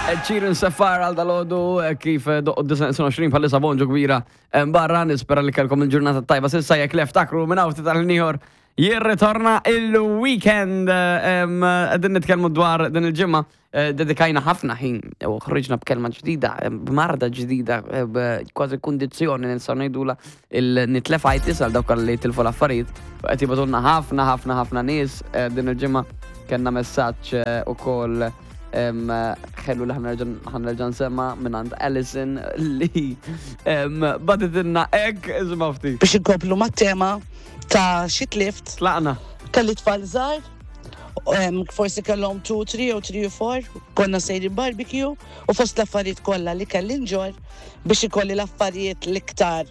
Ed Sheeran Safar għal dalodu kif doqqu 29 bħalissa bonġu kbira barra nispera li kellkom il-ġurnata tajba sissa jekk lef takru minn hawn ftit tal-ieħor jirritorna il-weekend. Qegħdin nitkellmu dwar din il-ġimgħa dedikajna ħafna ħin u ħriġna b'kelma ġdida, b'marda ġdida, kważi kundizzjoni nistgħu ngħidula il-nitlefajtis għal dawk li tilfu l-affarijiet. U qed jibgħatulna ħafna ħafna ħafna nies din il-ġimgħa kellna messaġġ ukoll ħelu li ħanerġa' nsemma minn Alison li baditilna hekk iżma ftit. Biex inkomplu mat-tema ta' xi tlift. Tlaqna. Kelli tfal żgħar, forsi kellhom 2, 3 jew 3 u 4, konna sejrin barbecue u fost l-affarijiet kollha li kelli nġorr biex ikolli l-affarijiet l-iktar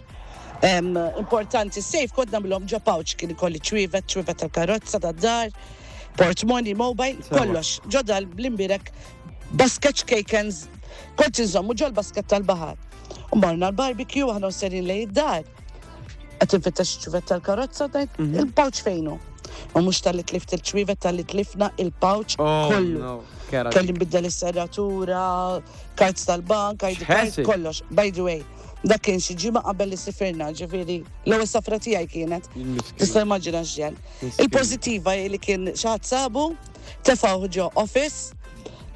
importanti safe kont nagħmilhom ġo pouch kien ikolli ċwievet, ċwievet tal-karozza tad-dar, portmoni, mobile, kollox. Ġo dal bl-imbirek basket ċkejkens kont inżommu ġol basket tal-baħar. U morna l-barbecue aħna serin lejn id-dar. Qed infittex ċwievet tal-karozza, ngħid, il-pouch fejnu. U mhux talli tlift il-ċwievet talli tlifna il-pouch Oh, kollu. no, kera Kelli dik. nbiddel is-serratura, cards tal-bank, ID card, X'ħessi? kollox. By the way, dak kien xi ġimgħa qabel li sifirna, ġifieri l-ewwel safra tiegħi kienet. Il-miskina. Tista' immaġina x'ġen. Miskina. Il-pożittiva hi li kien xi ħadd sabu, tefgħuh ġo office,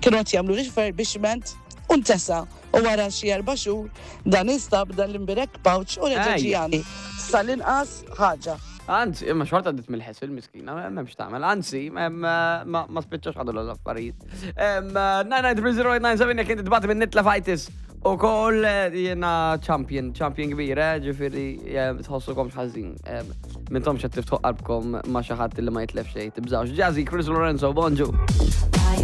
kienu qed jagħmlu refurbishment u ntesa. U wara xi 4 xhur dan instab dan l-imbirek pouch u reġa' Ejja. ġie għandi. Sal-inqas ħaġa. Anzi, imma xorta għaddit mill-ħesil miskina, m'hemmx tagħmel. Anzi, ma ma spiċċax ħadu l-affarijiet. 9930897 jekk inti tbati minn nitlefajtis. U koll jena champion, champion kbir, ġifieri tħossukom ħażin. Mintomx qed tiftħu qalbkom ma' xi ħadd li ma jitlef xejn, tibżawx. Jazzy, Chris Lorenzo, bonġu.